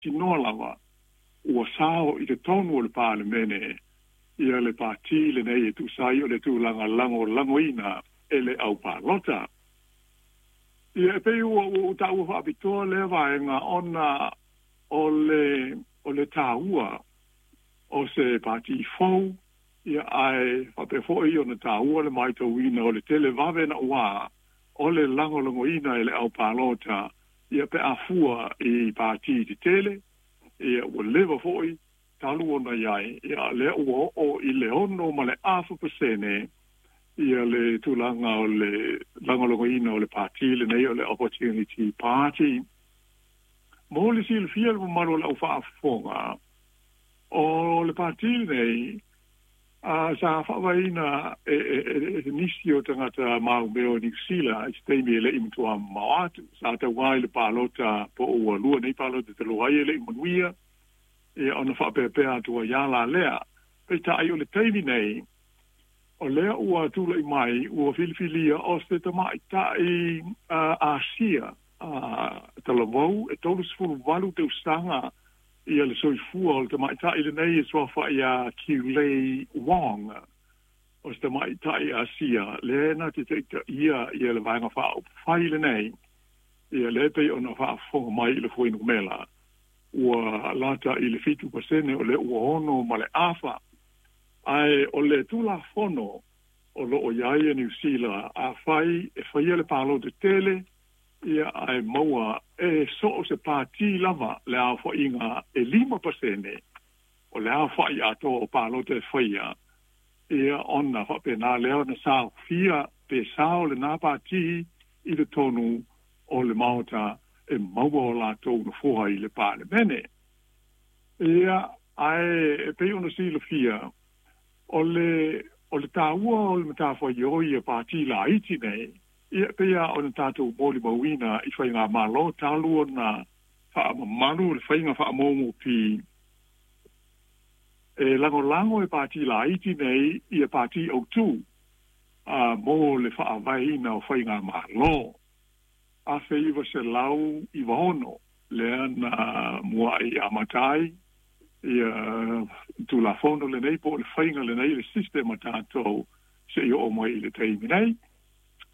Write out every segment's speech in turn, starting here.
Tinoa lava ua sao i totonu o le Palemene ia le Pati lenei e tusa ai o le tulaga lagolagoina e le aupalota. Ia, e pei ua ou taua faapitoa lea vaega ona o le o le taua o se Pati fou, ia ae faapea foi ona taua le matauina o le televave naua o le lagolagoina e le aupalota, ia pe a fua i Pati tetele, ia ua leva foi talu ona i ai, ia lea ua oo i le 6.5% ia le tulaga o le lagolagoina o le Pati lenei o le Opportunity Party. Mo le silafia le mamalu o le aufaafofoga, o le Pati lenei sa faavaeina e nisi o tagata maumeo o Niu Sila i se taimi e le i matua mamao atu. Sa tauā i le palota po o ua lua nei palota talu ai e le i manuia, ia ona faapeapea atu ai lava la lea. Peitai o le taimi nei, o lea ua tulai mai ua filifilia o se tamaitai Asia talavou e 38 tausaga ia le soifua o le tamaitai lenei e suafa ia Kiulei Wong. O se tamaitai Asia lea na te taitaia ia le Vaega Faaupufai lenei, ia lea e pei ona faafofoga mai i le fuainumela ua lata i le 7% o lea ua 6.5. Ae o le Tulafono o lo o i ai e Niu Sila, afai e faia le palota tele, ia ae maua e so o se pati lava le aofaiga e 5% o le aofai atoa o palota e faia, ia ona faapena lea ona saofia pe sao lena pati i totonu o le Maota e maua o latou nofoa i le Palemene. Ia, ae e pei ona silafia, o le o le taua o le matafaioi a pati laiti nei, ia e pei lava ona tatou molimauina i faigamalo talu ona faamamalu le faiga faamoumoupi, e lagolago e pati laiti nei ia pati autū mo le faavaeina o faigamalo. 1996 lea na mua'i amata ai ia Tulafono lenei po o le faiga lenei, le system a tatou seia oo mai i le taimi nei.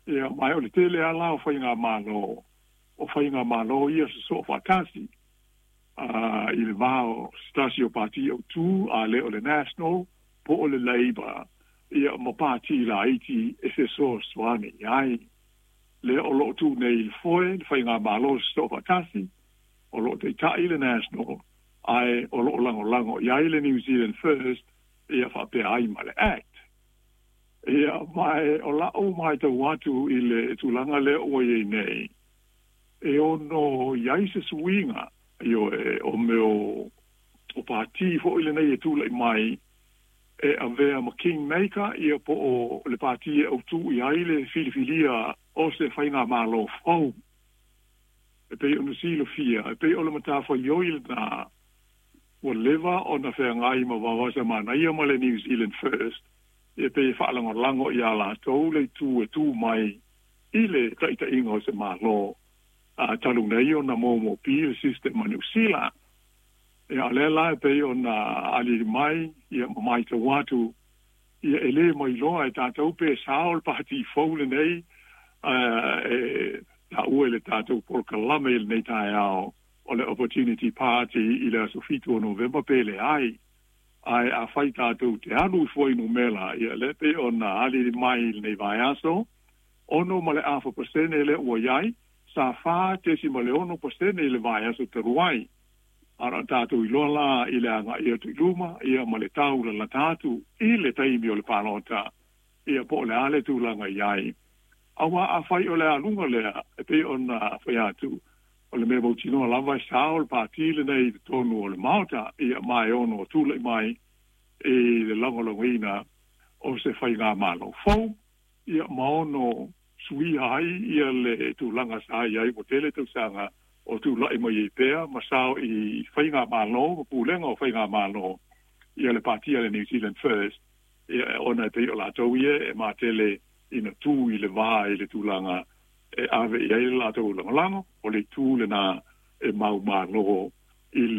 Ia, ma o le tele lava la o faigamalo, o faigamalo ia sosoo faatasi i le va o se tasi o pati autū, a le o le National po o le Labour, ia ma pati laiti e fesoasoani i ai. Lea o lo o tu nei i le foe le faigamalo sosoofaatasi, o lo o taitai le National, ae o lo o lagolago i ai le New Zealand First, ia faapea ai ma le Act. Ia, ma o la'u matau atu i le tulaga lea ua i ai nei, e ono i ai se suiga, ioe, o mea o pati foi lenei e tulai mai e avea ma kingmaker, ia po o le pati e autū i ai le filifilia o se faigamalo fou. E pei ona silafia, e pei o le matafaioi lena ua leva ona feagai ma Vaovasamanaia ma le New Zealand First, e pei e faalagolago iā latou le itu e tu mai i le taitaiga o se Malo talu nei ona moumoupi le system a Niu Sila. Ia, o lea la e pei ona aliali mai, ia, ma matau atu, ia, e le mailoa e tatou pe sao le pati fou lenei e taua i le tatou polokalame i lenei taeao o le Opportunity Party i le aso 7 o Novema pe leai. Ae afai tatou te alu i fuainumera, ia, lea e pei ona aliali mai i lenei vaiaso, 6.5% lea ua i ai, sa 4.6% i le vaiaso talu ai. A na o tatou iloa la i le agai atu i luma, ia, ma le tau lalata atu i le taimi o le palota, ia, po o le a le tulaga i ai. Aua afai o le aluga lea, e pei ona fai atu, o le mea mautinoa lava e sao le pati lenei i totonu o le Maota, ia, ma e ono tulai mai i le lagolagoina o se faigamalo fou, ia, ma ono suia ai ia le tulaga sa i ai ua tele tausaga o tulai mai ai pea ma sao i faigamalo ma pulega o faigamalo ia le pati a le New Zealand First, ia, ona e pei o latou ia e matele ina tu i le va i le tulaga e ave i ai le latou lagolago, o le itu lena e maumalo i le